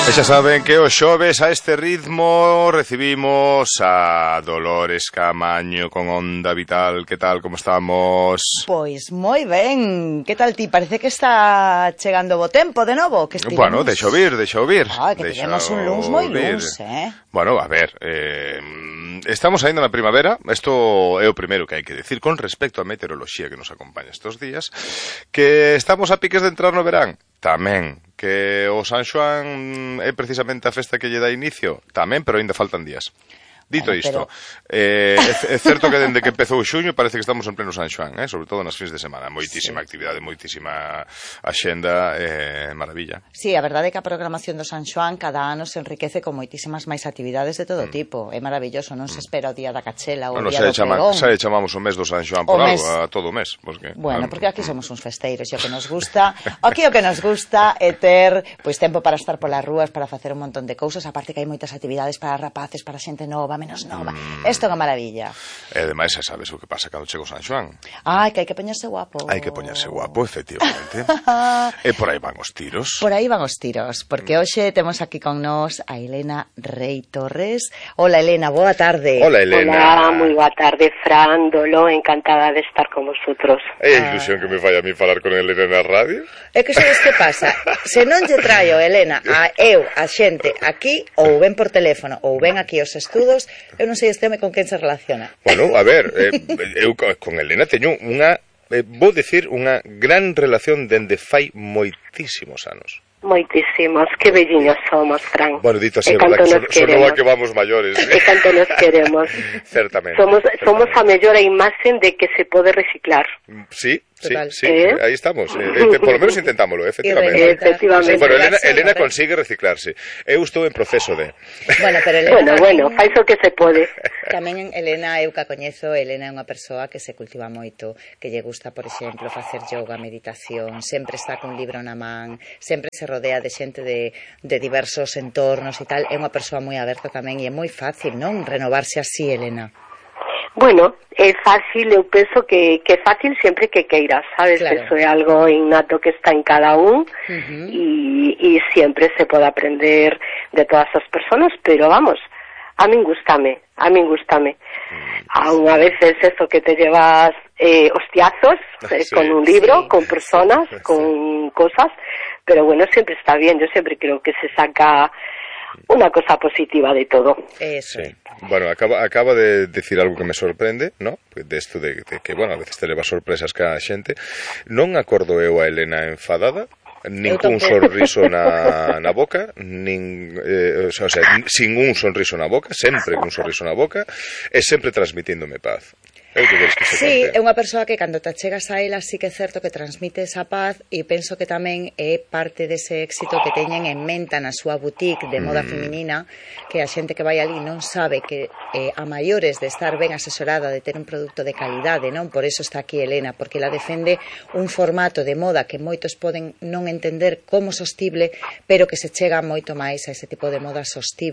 E xa saben que os xoves a este ritmo recibimos a Dolores Camaño con Onda Vital. Que tal, como estamos? Pois moi ben. Que tal ti? Parece que está chegando bo tempo de novo. Que estivemos... Bueno, deixa ouvir. Que tivemos un luns moi luns, Bueno, a ver, estamos ainda na primavera. Isto é o primeiro que hai que decir con respecto á meteoroloxía que nos acompaña estes días, que estamos a piques de entrar no verán. Tamén, que o San Xoán é precisamente a festa que lle dá inicio. Tamén, pero ainda faltan días. Dito isto, é certo que dende que empezou xuño parece que estamos en pleno San Xoán, sobre todo nas fins de semana. Moitísima actividade, moitísima axenda, maravilla. Sí, a verdade é que a programación do San Xoán cada ano se enriquece con moitísimas máis actividades de todo tipo. É maravilloso, non se espera o día da Cachela ou o día do pregón. Xa le chamamos o mes do San Xoán por algo, a todo o mes. Bueno, porque aquí somos uns festeiros e o que nos gusta, aquí o que nos gusta é ter tempo para estar polas rúas, para facer un montón de cousas, aparte que hai moitas actividades para rapaces, para xente nova, menos nova. Isto é unha maravilla. E ademais, xa sabes o que pasa cando chega o San Xoán. Ai, que hai que poñerse guapo. Hai que poñerse guapo, efectivamente. E por aí van os tiros. Por aí van os tiros, porque hoxe temos aquí con nós a Elena Rei Torres. Hola, Elena, boa tarde. Hola, Elena. Hola, moi boa tarde, Fran, Dolo, encantada de estar con vosotros. É a ilusión que me fai a mí falar con Elena na radio. É que sabes que pasa? Se non lle traio, Elena, a xente aquí, ou ven por teléfono, ou ven aquí aos estudos, eu non sei este home con quen se relaciona. Bueno, a ver, eu con Elena teño unha, vou dicir, unha gran relación dende fai moitísimos anos. Moitísimos, que velliños somos, Fran. Bueno, dito así, verdad, que sonou a que vamos maiores. E canto nos queremos. Certamente. Somos a mellor imaxen de que se pode reciclar. Sí, aí estamos. Por lo menos intentámoslo, efectivamente. Bueno, Elena consigue reciclarse. Eu estou en proceso de... Bueno, fai o que se pode. Tamén Elena, eu que a coñezo, Elena é unha persoa que se cultiva moito, que lle gusta, por exemplo, facer yoga, meditación, sempre está cun libro na man, sempre se rodea de xente de diversos entornos e tal. É unha persoa moi aberta tamén e é moi fácil, non? Renovarse así, Elena. Bueno, é fácil, eu penso que é fácil sempre que queiras, sabes? Claro. Eso é algo innato que está en cada un e sempre se pode aprender de todas as personas, pero vamos, a min gústame. A unha veces eso que te llevas hostiazos con un libro, con personas, con cosas, pero bueno, siempre está bien, yo siempre creo que se saca unha cosa positiva de todo. Eso. Sí. Bueno, acaba de decir algo que me sorprende, ¿no? De esto de que, bueno, a veces te leva sorpresas cada xente. Non acordo eu a Elena enfadada, nin cun sorriso na boca, sin un sorriso na boca, sempre cun sorriso na boca, e sempre transmitíndome paz. Sí, é unha persoa que cando te chegas a ela sí que é certo que transmite esa paz e penso que tamén é parte dese éxito que teñen en menta na súa boutique de moda feminina, que a xente que vai ali non sabe que a maiores de estar ben asesorada, de ter un produto de calidade, non? Por eso está aquí Elena, porque ela defende un formato de moda que moitos poden non entender como sostible, pero que se chega moito máis a ese tipo de moda sostible